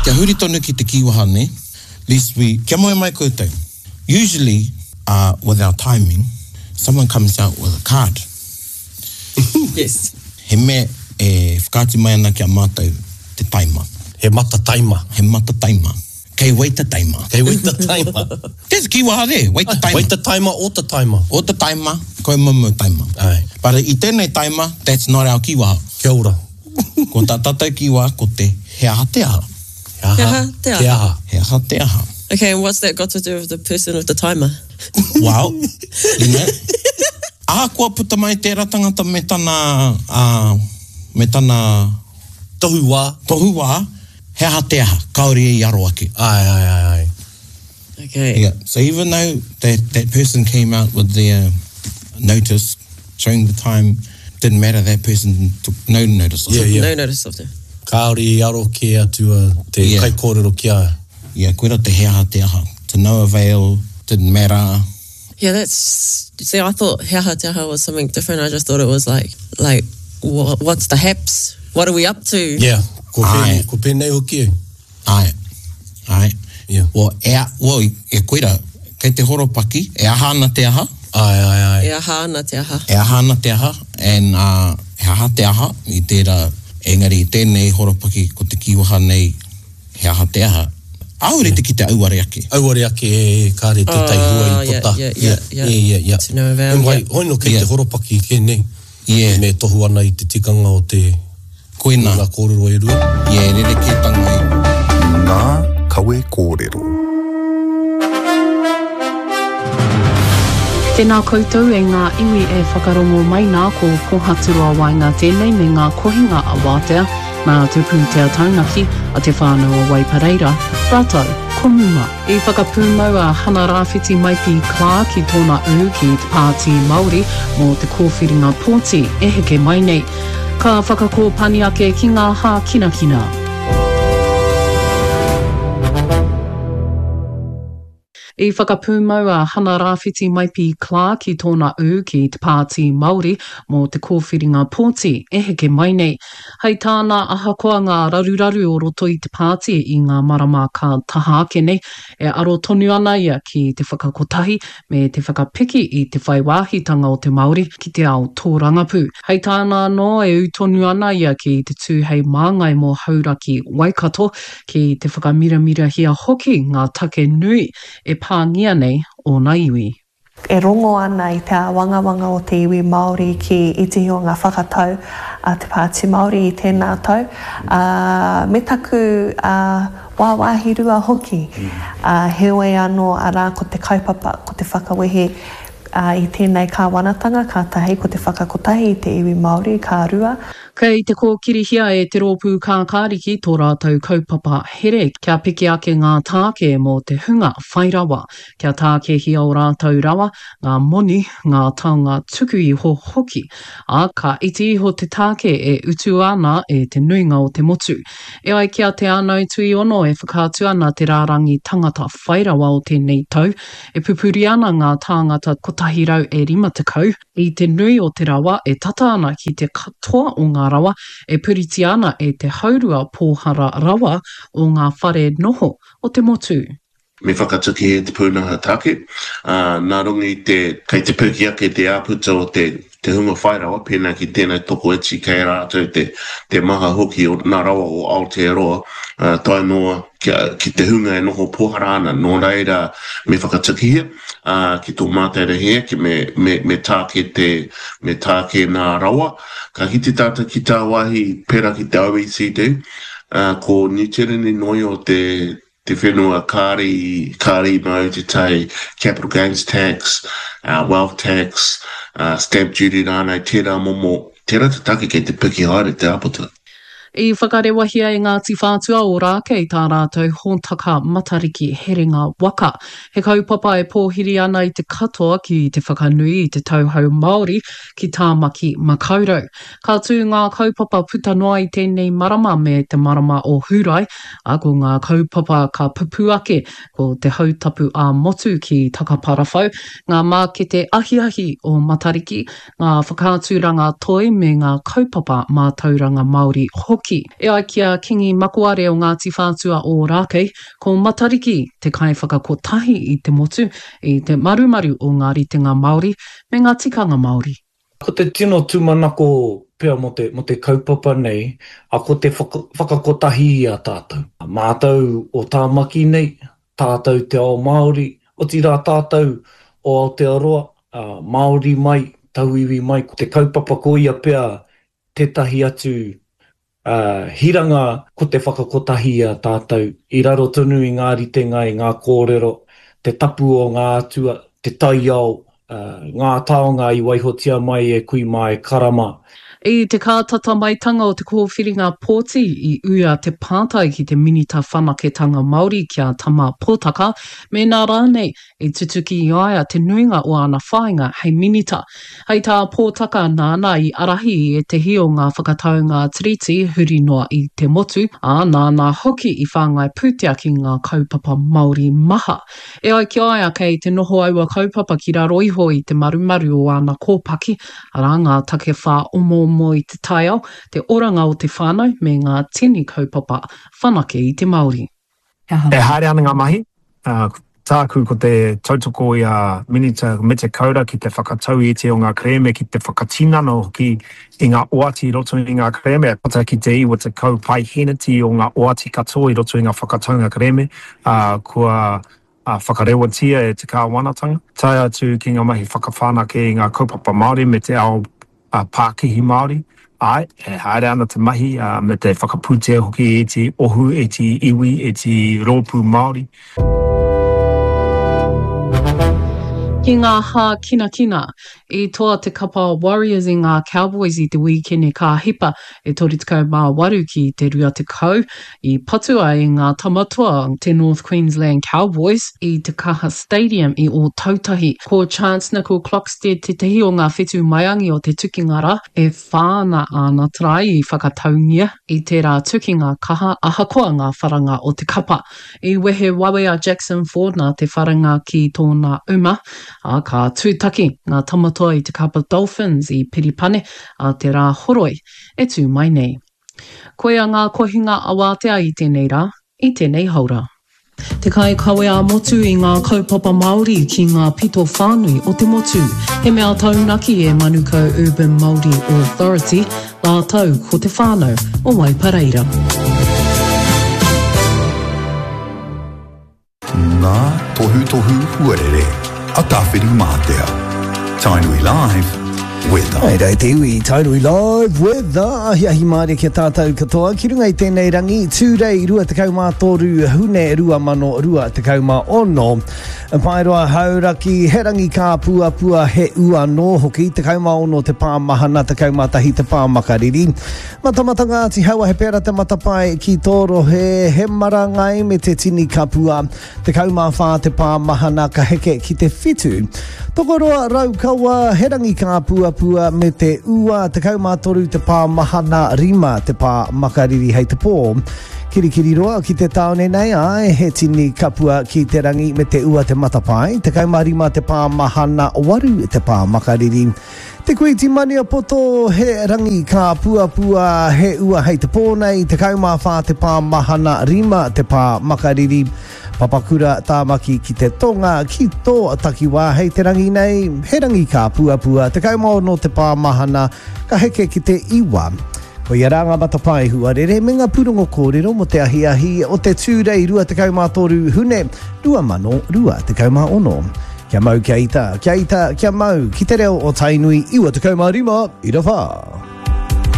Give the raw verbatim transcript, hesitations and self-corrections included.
Kia huri tonu ki te kīwaha nei, lest we, kia moe mai koutou. Usually, uh, with our timing, someone comes out with a card. Yes. He mea e whakaatu mai ana ki a mātou te taima. He mata taima. He mata taima. Kei waita taima. Kei waita taima. There's a kīwaha there, waita taima. Waita taima o ta taima. O ta taima, koe momo taima. Ai. But i tēnei taima, that's not our kīwaha. Kia ora. Ko tā tātou kīwaha, ko te he aha te aha. He aha He aha te aha. Te aha. He aha te aha. Okay, and what's that got to do with the person with the timer? Well, you know, ahakoa puta mai tērā tangata me tana, uh, me tana Tohu wā. tohu wā, he aha te aha, kāore e i aro ake. Ai, ai, ai, ai. Okay. Yeah. So even though that, that person came out with their notice showing the time, didn't matter, that person took no notice of Yeah, it. yeah. No notice of them. Kāore i aro ke atu a te Yeah. kaikōrero ki a. Yeah, koira te he aha te aha. To no avail, didn't matter. Yeah, that's. See, I thought he aha te aha was something different. I just thought it was like, like, wha what's the haps? What are we up to? Yeah. Ko Ai. pēnei, ko pēnei hoki e. Ai. Ai. Yeah. Well, e, a, well, e koira, kei te horopaki, e aha ana te aha, Ai, ai, ai. E aha ana te aha. e aha ana te aha, and uh, he aha te aha, i tērā, engari i tēnei horopaki ko te kīwaha nei, he aha te aha. Āore te ki te auare ake. Auare ake e, e kāre tētai hua Oh, i yeah, puta. yeah, yeah, yeah. Yeah, yeah, yeah. To no avail, En wai, yeah. hoi no kei Yeah. te horopaki ke nei. Yeah. Me tohu ana i te tikanga o te Koina, ngā kōrero e rua. yeah, rerekētanga i. Ngā kawe kōrero. Tēnā koutou e ngā iwi e whakarongo mai nā ko Kohaturoa Waenga tēnei me ngā kohinga a wātea nā te pūtea taunaki a te whānau o Waipareira, rātou ko Muma. I whakapūmau a Hana Rāwhiti Maipi Clark i tōna ū ki te Pāti Māori mō te kōwhiringa pōti e heke mai nei. Ka whakakōpani ake ki ngā hākinakina. I whakapūmau a Hana Rāwhiti Maipi Clark i tōna ū ki te Pāti Māori mō te kōwhiringa pōti e heke mai nei. Hei tāna ahakoa ngā raruraru o roto i te pāti i ngā marama ka taha ake nei, e aro tonu ana ia ki te whakakotahi me te whakapiki i te whai wāhitanga o te Māori ki te ao tōrangapū. Hei tāna anō e ū tonu ana ia ki te tū hei māngai mō Hauraki Waikato ki te whakamiramirahia hoki ngā take nui e pāngia nei ōna iwi. E rongo ana i te āwangawanga o te iwi Māori ki itihi o ngā whakatau a te Pāti Māori i tēnā tau, uh, me taku uh, wāwāhi rua hoki. Uh, heoi anō arā ko te kaupapa, ko te whakawehe uh, i tēnei kāwanatanga, ka tahi ko te whakakotahi i te iwi Māori, ka rua. Kei te kōkirihia e te rōpū kākāriki tō rātou kaupapa here kia piki ake ngā tāke mō te hunga whai rawa, kia tākehia o rātou rawa, ngā moni, ngā taonga tuku iho hoki, ā, ka iti iho te tāke e utu ana e te nuinga o te motu. E ai ki a Te Anau Tuiono e whakaatu ana te rārangi tangata whai rawa o tēnei tau, e pupuri ana ngā tāngata kotahi rau e rima tekau, i te nui o te rawa e tata ana ki te katoa o ngā rawa e puritia ana e te haurua pōhara rawa o ngā whare noho o te motu. Me whakatuki e te pūnaha take, uh, nā runga i te, kei te piki ake te āputa o te, te hunga whai rawa, pēnā ki tēnei tokoiti kei rātou te, te maha hoki o nā rawa o Aotearoa, uh, tae noa ki, ki te hunga e noho pōhara ana, nō reira me whakatukihia, uh, ki tō mātou hea, ki me, me, me tāke te, me tāke nā rawa. Ka kite tātou ki tā wāhi pērā ki te O E C D, uh, ko New Zealand noi o te, te whenua kāri, kāri mau te tai capital gains tax, uh, wealth tax, uh, stamp duty rānei, tērā momo, tērā te take kei te piki haere te āputa. I whakarewahia e Ngāti Whātua o Rākei tā rātou hōtaka Matariki Herenga Waka. He kaupapa e pōhiri ana i te katoa ki te whakanui i te tauhou Māori ki Tāmaki Makaurau. Ka tū ngā kaupapa puta noa i tēnei marama me te marama o Hūrae, ā, ko ngā kaupapa ka pupu ake, ko te hautapu ā-motu ki Takaparawhau, ngā mākete ahiahi o Matariki, ngā whakaaturanga toi me ngā kaupapa mātauranga Māori hoki. hoki. E ai ki a Kingi Makoare o Ngāti Whātua Ōrākei, ko Matariki te kaiwhakakotahi i te motu, i te marumaru o ngā ritenga Māori me ngā tikanga Māori. Ko te tino tūmanako pea mō te, mō te kaupapa nei, a ko te whaka, whakakotahi i a tātou. Mātou o Tāmaki nei, tātou te ao Māori, otirā tātou o Aotearoa, Māori mai, tauiwi mai, ko te kaupapa ko ia pea tētahi atu hiranga ko te whakakotahi i a tātou, i raro tonu i ngā ritenga, i ngā kōrero, te tapu o ngā atua, te taiao, ngā taonga i waihotia mai e kui mā e kara mā. I te kātata maitanga o te kōwhiringa pōti i uia te pātai ki te Minita Whanaketanga Māori ki a Tama Potaka mēnā rānei i tutuki i a ia te nuinga o āna whāinga hei Minita. Hei tā Potaka nāna i ārahi i ētehi o ngā whakataunga Tiriti huri noa i te motu, ā, nāna hoki i whāngai pūtea ki ngā kaupapa Māori maha. E ai ki a ia kei te noho aua kaupapa ki raro iho i te marumaru o āna kōpaki, arā ngā take whāomoomo i te taiao, te oranga o te whānau me ngā tini kaupapa whanake i te Māori. E haere ana ngā mahi, tāku ko te tautoko i a Minita Mete Kaura ki te whakatau i ētehi o ngā kerēme, ki te whakatinana hoki i ngā oati i roto i ngā kerēme, e tata ki te iwa tekau paeheneti o ngā oati katoa i roto i ngā whakataunga kerēme, ā, kua whakarewatia e te kāwanatanga, tae atu ki ngā mahi whakawhanake i ngā kaupapa Māori me te ao pākihi Māori. Āe, e haere ana te mahi, me te whakapūtea hoki i ētehi ohu, ētehi iwi, ētehi rōpū Māori. Ki ngā hākinakina, i toa te kapa Warriors i ngā Cowboys i te wīkene ka hipa e toru tekau mā waru ki te rua tekau, i patua e ngā tama toa te North Queensland Cowboys i te Kaha Stadium i Ōtautahi. Ko Chance Nickel Klokstad tētehi o ngā whetū maiangi o te tukinga rā, e whā ana āna tarae i whakataungia i tērā tukinga kaha ahakoa ngā wharanga o te kapa. I wehe wawe a Jackson Ford nā te wharanga ki tōna uma, ā, ka tūtaki ngā tamatoa i te kapa Dolphins i Piripane ā te Rāhoroi e tū mai nei. Koia ngā kohinga awātea i tēnei rā, i tēnei haora. Te kaikawe ā-motu i ngā kaupapa Māori ki ngā pito whānui o te motu. He mea taunaki e Manukau Urban Māori Authority, rātou ko te whānau o Waipareira. Ngā tohutohu huarere a Tāwhirimātea. Tainui Live Weather. Hai rei te iwi, Tainui Live Weather, ahiahi mārie ki a tātou katoa, ki runga i tēnei rangi, Tūrei rua tekau mā toru, Hune rua mano rua tekau mā ono. Paeroa Hauraki, he rangi kāpuapua, he ua nō hoki, tekau mā ono te pā mahana, tekau mā tahi te pā makariri. Matamata Ngāti Haua, he pērā te matapae ki tō rohe, he marangai me te tini kapua, tekau mā whā te pā mahana ka heke ki te whitu. Tokoroa Raukawa, he rangi kāpuapua me te ua, tekau mā toru te pā mahana, rima te pā makariri hei te pō. Kirikiriroa ki te tāone nei, āe, he tini kapua ki te rangi me te ua te matapae, tekau mā rima te pā mahana, waru te pā makariri. Te Kuiti Maniapoto, he rangi kāpuapua, he ua hei te pō nei, tekau mā whā te pā mahana, rima te pā makariri. Papakura, Tāmaki ki te tonga, ki tō takiwā hei te rangi nei, he rangi kāpuapua, tekau mā ono te pā mahana, ka heke ki te iwa. Koia rā ngā matapae huarere me ngā pūrongo kōrero mō te ahiahi o te Tūrei rua tekau mā toru Hune rua mano rua tekau mā ono. Kia mau kia ita, kia ita, kia mau ki te reo o Tainui iwa tekau mā rima ira whā.